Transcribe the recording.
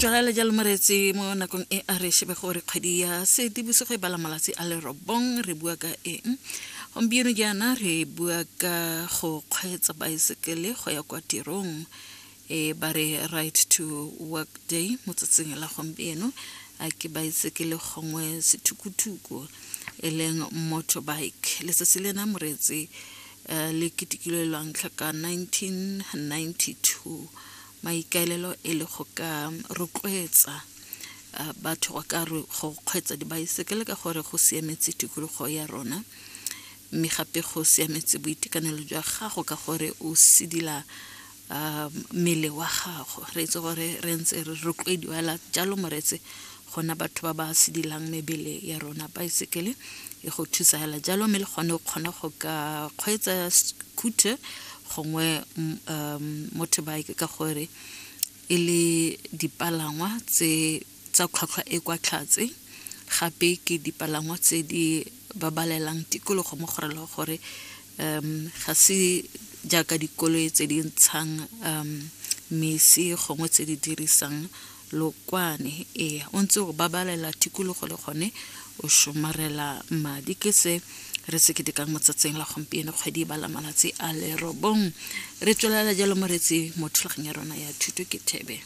Tswelela jalo moreetsi mo nakong e a re shebe gore kgwedi ya Seetebosigo e bala malatsi a le robong re bua ka eng. Gompieno jaana re bua ka go kgweetsa baesekele go ya kwa tirong e ba re right to work day mo tsatsing la gompieno a ke baesekele gongwe sethukuthuku e leng motorbike. Letsatsi lena moreetsi eh, le ketekilwe lwa ntlha ka 1992 Maikaelelo e le go ka rotloetsa batho go ka go kgweetsa dibaesekele ka gore go siametse tikologo ya rona mme gape go siametse boitekanelo jwa gago ka gore o sidila mmele wa gago. Re itse gore re ntse re rotloediwa fela jalo moreetsi gona batho ba ba sidilang mebele ya rona. Baesekele e go thusa fela jalo mme le gone o kgona go ka kgweetsa scooter gongwe um motorbike ka gore e le dipalangwa tse tsa tlhwatlhwa e kwa tlhatse gape ke dipalangwa tse di babalelang tikologo mo go rela gore um ga se jaaka dikoloi tse di ntshang um mesi gongwe tse di dirisang Lokwane, ee, o ntse o babalela tikologo le gone o somarela madi. Ke se re se ketekang mo tsatsing la gompieno kgwedi e bala malatsi a le robong. Re tswelela jalo moretsi mo thulaganyo ya rona ya thuto ke thebe.